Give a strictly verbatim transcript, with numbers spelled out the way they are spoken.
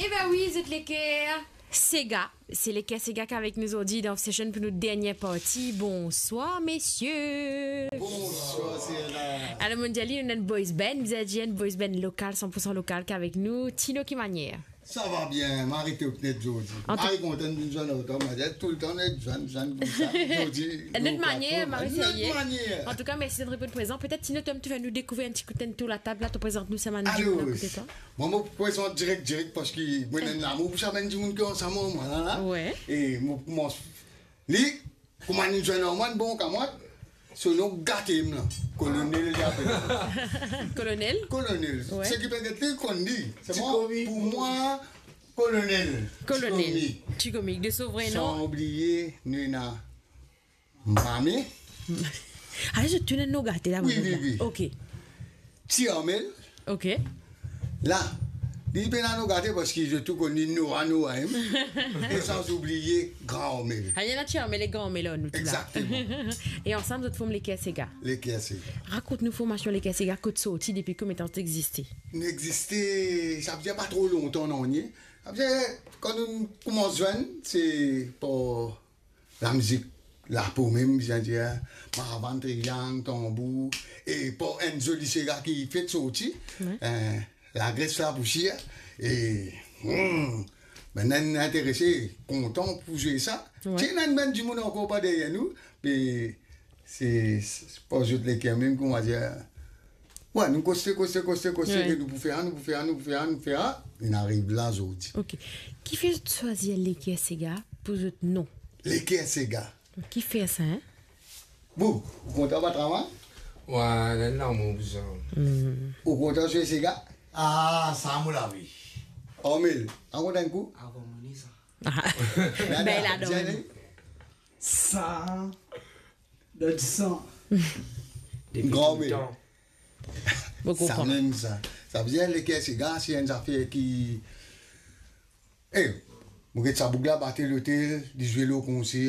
Ebe wi, zot leker sega. Se leker sega ki avek nou zordi dan Off Session pou nou dernie parti. Bonswar, mesie. Bonswar, Serena. Alor, monn dir li, nou ena enn boys band, bizin dir enn boys band lokal, san pou san lokal ki avek nou. Tino, ki manier? Sa va bien, mari, to net zordi. An tou- Mari kontan vinn zwenn ar twa, mari toultan net zwenn, zwenn koumsa. Zordi, Enn lot manier, plato, mari, enn lot serye. Manier. An tou ka, mersi d'être venu prezan. Petet, Tino, to mem, to fer nou dekouvrir enn ti kou, to latab la, to prezant nou sa bann dimoun akote twa. Bon, mo prezant direk, direk, parski mo ena enn lamour pou sa bann dimoun ki ansam ar mwa la, la. Wi. E mo koumans li, kouma nou zwenn ar mwa, bon kamarad, so nom gate mem la. Kolonel, li apel. Kolonel? Kolonel. Wi. Seki pe get li, konn li. Ti komik. Pou mwa, Kolonel. Kolonel. Ti komik. Ti komik. De so vre nom? San oubliye, nou ena Mame. Ale, zot tou ena nom gate la, wi, wi, wi. Ok. Ti Armel. Ok. La, li pena nom gate parski zot tou konn li Noa, Noa, hein. E san oubliye Gran Armel. Ale, ena Ti Armel e Gran Armel, nou tou la. Exactement. E ansam, zot form Leker Sega. Leker Sega. Rakont nou formasion Leker Sega, kot sorti, depi konbien tan zot existe? Nou existe, sa ve dir pa tro lontan, non, nie. Sa ve dir, kan nou koumans zwenn, se par lamizik lapo mem, bizin dir, maravann, triyang, tanbour, e par enn zoli sega ki fek sorti, wi, eh, lagres, lapousier, e, hmm, bann enn interese, kontan pou zwe sa. Wi. Ti ena enn bann dimoun ankor pa deryer nou, me se, se par zot leker mem, kouma dir, Wi, nou koste, koste, koste, koste, wi, ke nou pou fer, nou pou fer, nou pou fer, nou pou fer, nou ariv la zordi. Ok. Kifer zot swazir Leker Sega pou zot nom? Leker Sega. Kifer sa, hein? Bon, ou kontan pa travay? Wi, la, la, mo bizin. Hmm. Ou kontan zwe sega? Ah, sa mo lavi. Armel, ou kontan kou? Avan mo ne sa. Ah. Nada, bel adon. Sa, dan disan. Depi Gran touletan. Mo konpran. Sa mem sa. Sa ve dir Leker Sega, se enn zafer ki, eh, mo get sa boug la, bate lotel, li zwe lor konser,